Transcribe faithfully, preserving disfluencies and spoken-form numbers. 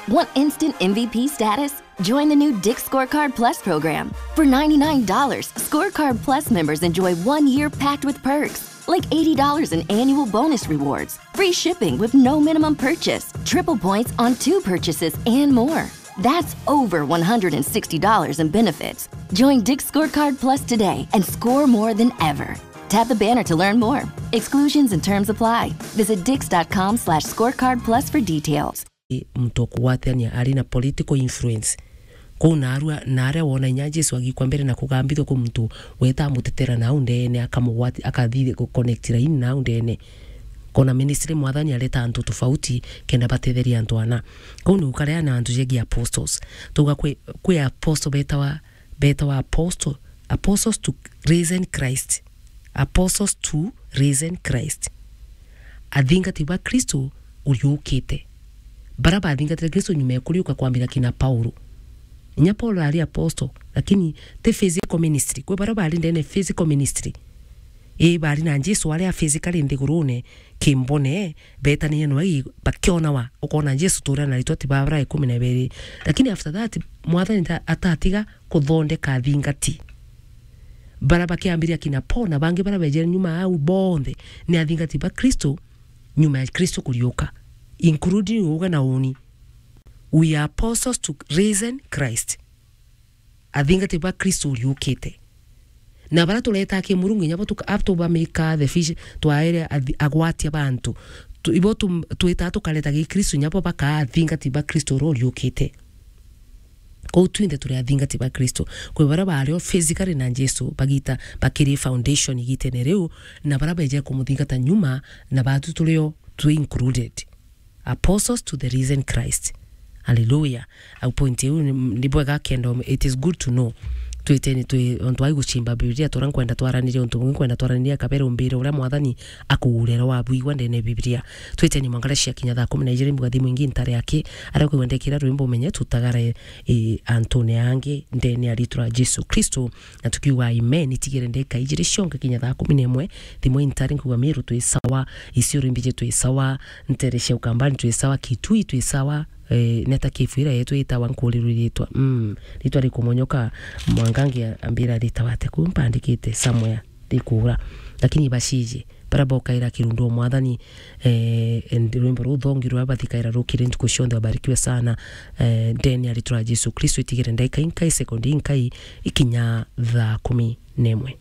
Want instant M V P status? Join the new Dick's Scorecard Plus program. For ninety-nine dollars, Scorecard Plus members enjoy one year packed with perks, like eighty dollars in annual bonus rewards, free shipping with no minimum purchase, triple points on two purchases, and more. That's over one hundred sixty dollars in benefits. Join Dick's Scorecard Plus today and score more than ever. Tap the banner to learn more. Exclusions and terms apply. Visit dicks.com slash scorecard plus for details. Muntu okugwatania ari na political influence. Kuu naarua, naaria wona inya Jesu agikwa mbere na kugambithua kwi muntu weta amutetera nau ndene, akamugwati-, akathi guconnect line nau ndene. Kona ministry Mwathani areta antu tofauti kenda batetheria antu ana. Kuu ni gukaria na antu jegi apostles. Tuga kwi, kwi apostle betawa, betawa apostle, apostles to risen Christ. Apostles to risen Christ. Athingati ba Kristo uriukite. Bara bathingatire Kristo nyuma ya kuriuka kwambira kina Paulo. Inya Paulo ari apostle, lakini ti physical ministry. Kwi bara bari ndene physical ministry. Ii, bari na Jesu aria physically nthigurune, kimbone, betanire nwe, bakionawa, ukona Jesu turia na ritwa ti babara ikumi na ibiri. Lakini after that, Mwathani ta-, atatiga kuthondeka athingati. Bara bakiambiria kina Paul na bangi bara bejere nyuma au bonthe ni athingati ba Kristo, nyuma ya Kristo kuriuka, including uga na uni. We are apostles to risen Christ. Athingati ba Kristo uriukite. Na bara tureta ki Murungu, inya bo tuka-, abo tubamika the fish, twaere athi-, agwatia bantu. Tu-, ibo tu-, twita tukareta gi Kristo, inya bo bakaa athingati ba Kristo uria uriukite. Kou twinthe turi athingati ba Kristo. Kwi bara bari o physically na Jesu, bagita bakiri foundation igitene riu, na bara beje kumuthingata nyuma, na batu turi o twi included. Apostles to the risen Christ. Hallelujah. Au point iu ni, ni bwega kenda, it is good to know. Twiteni twi, ontu ai guchimba Biblia, tura nkwenda twaranirie untu bungi, nkwenda twaranirie kabere umbire uria Mwathani akugurera wabwigua ndene Biblia. Twiteni mwangara cia kinya thaa kumi na ijiri mbuga thimu ingi ntare aki, aria kwigua ndekira rwimbo umenye tutagare, e, antune angi ndene ya ritwa ria Jesu Kristo. Na tukiuga amen, itigire ndeka ijiri cionke kinya thaa kumi na imwe, thimu intare nkuga Meru twi sawa, Isiolo imbiji twi sawa, ntere cia Ukambani twi sawa, Kitui twi sawa, eh, neta kifu ira yetu itawa nkurirwe ritwa. Mm, ritwa rikumonyoka, mwangangi ambira ritawa ate ku mpandikite somewhere rikura. Lakini bashiji, bara bokaira kirundu o Mwathani, eh, and rwimbo ruu thongi rwa bathikaira rukire ntuku cionthe, wabarikiwe sana, eh, ndene ya ritwa ria Jesu Kristo, itigire ndaika inkai, sekondi inkai, ikinya thaa kumi na imwe.